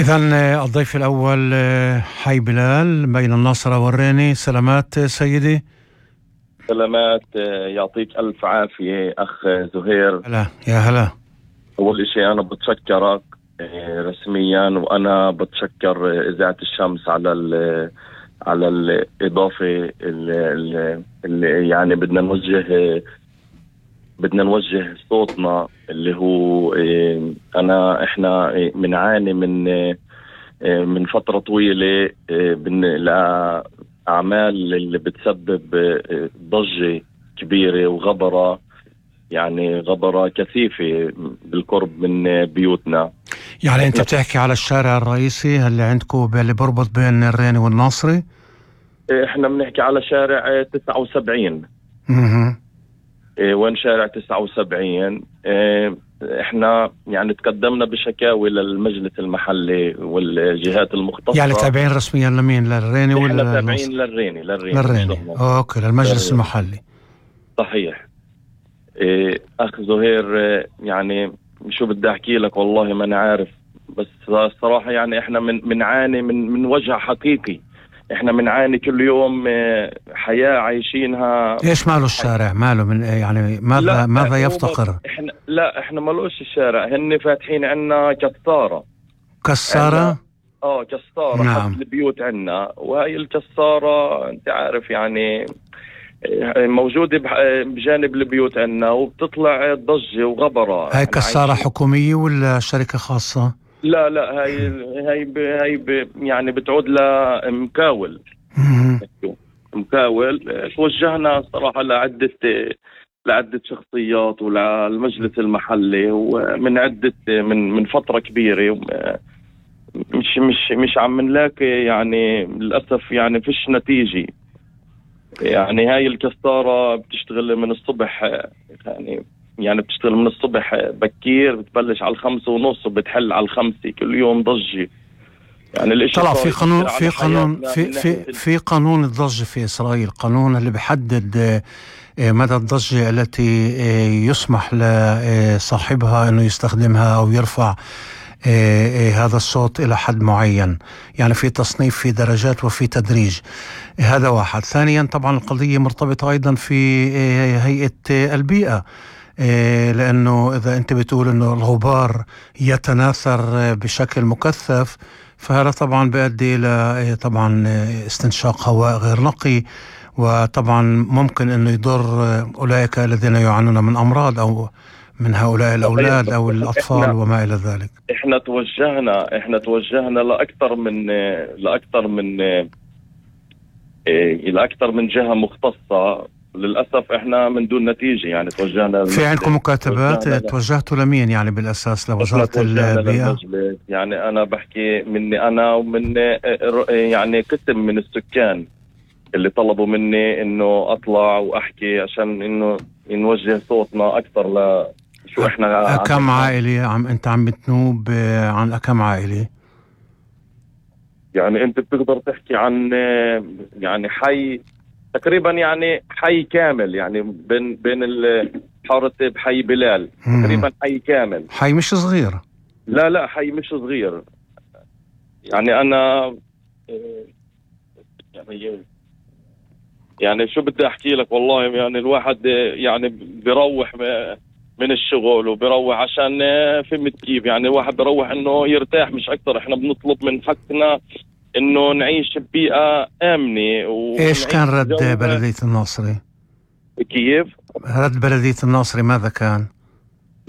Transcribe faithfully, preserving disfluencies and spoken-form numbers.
إذن الضيف الأول حي بلال بين الناصرة والريني. سلامات سيدي. سلامات، يعطيك ألف عافية أخ زهير. هلا يا هلا. أول شيء أنا بتشكرك رسميا، وأنا بتشكر إذاعة الشمس على ال على الإضافة اللي, اللي يعني بدنا نوجه بدنا نوجه صوتنا اللي هو أنا إحنا بنعاني من من فترة طويلة لأعمال اللي بتسبب ضجة كبيرة وغبرة، يعني غبرة كثيفة بالقرب من بيوتنا. يعني أنت بتحكي على الشارع الرئيسي اللي عندكم اللي بربط بين الريني والناصري؟ إحنا بنحكي على شارع تسعة وسبعين. اها. وين شارع تسعة وسبعين؟ احنا يعني تقدمنا بشكاوي للمجلس المحلي والجهات المختصة. يعني تابعين رسميا لمين؟ للريني ولا احنا تابعين للريني للريني للريني اوكي، للمجلس للريني. المحلي. صحيح. اه اخ زهير، اه يعني شو بدي احكي لك، والله ما انا عارف، بس الصراحة يعني احنا من منعاني من من وجع حقيقي. احنا بنعاني كل يوم حياة عايشينها. ايش ماله الشارع؟ ماله من يعني ماذا ماذا يفتقر؟ احنا لا احنا مالوش الشارع، هن فاتحين عنا كسارة. كسارة؟ اه كسارة. نعم. حد البيوت عنا، وهي الكسارة انت عارف يعني موجودة بجانب البيوت عنا، وبتطلع ضجة وغبرة. هاي كسارة حكومية ولا شركة خاصة؟ لا لا هاي هاي ب هاي ب يعني بتعود لمكاول. مكاول. توجهنا صراحة لعدة لعدة شخصيات وللمجلس المحلي، ومن عدة من من فترة كبيرة، مش مش مش عم نلاقي يعني للأسف يعني فيش نتيجة. يعني هاي الكسارة بتشتغل من الصبح، يعني يعني بتشتغل من الصبح بكير، بتبلش على الخمسة ونص وبتحل على الخمسة. كل يوم ضجة. يعني الاشي طلع في قانون في قانون في في في قانون الضجة في إسرائيل، قانون اللي بحدد مدى الضجة التي يسمح لصاحبها انه يستخدمها او يرفع هذا الصوت الى حد معين. يعني في تصنيف، في درجات، وفي تدريج. هذا واحد. ثانيا طبعا القضية مرتبطة ايضا في هيئة البيئة، لأنه إذا أنت بتقول أنه الغبار يتناثر بشكل مكثف، فهذا طبعا بيؤدي إلى طبعا استنشاق هواء غير نقي، وطبعا ممكن أنه يضر أولئك الذين يعانون من أمراض، أو من هؤلاء الأولاد أو الأطفال وما إلى ذلك. إحنا توجهنا إحنا توجهنا لأكثر من لأكثر من لأكثر من جهة مختصة. للأسف إحنا من دون نتيجة. يعني توجهنا. في عندكم مكاتبات؟ توجهتوا لمين يعني بالأساس؟ لوزارة البيئة؟ يعني أنا بحكي مني أنا ومن يعني قسم من السكان اللي طلبوا مني إنه أطلع وأحكي عشان إنه نوجه صوتنا أكثر ل شو إحنا. كم عائلة عم أنت عم بتنوب عن كم عائلة؟ يعني أنت بتقدر تحكي عن يعني حي تقريبا، يعني حي كامل، يعني بين بين الحارة بحي بلال تقريبا حي كامل. حي مش صغير. لا لا حي مش صغير. يعني أنا يعني يعني شو بدي أحكي لك، والله يعني الواحد يعني بيروح من الشغل وبيروح عشان فهمت كيف، يعني الواحد بيروح إنه يرتاح مش أكتر. إحنا بنطلب من حقنا إنه نعيش ببيئة آمنة. إيش كان رد بلدية الناصري؟ كيف؟ رد بلدية الناصري ماذا كان؟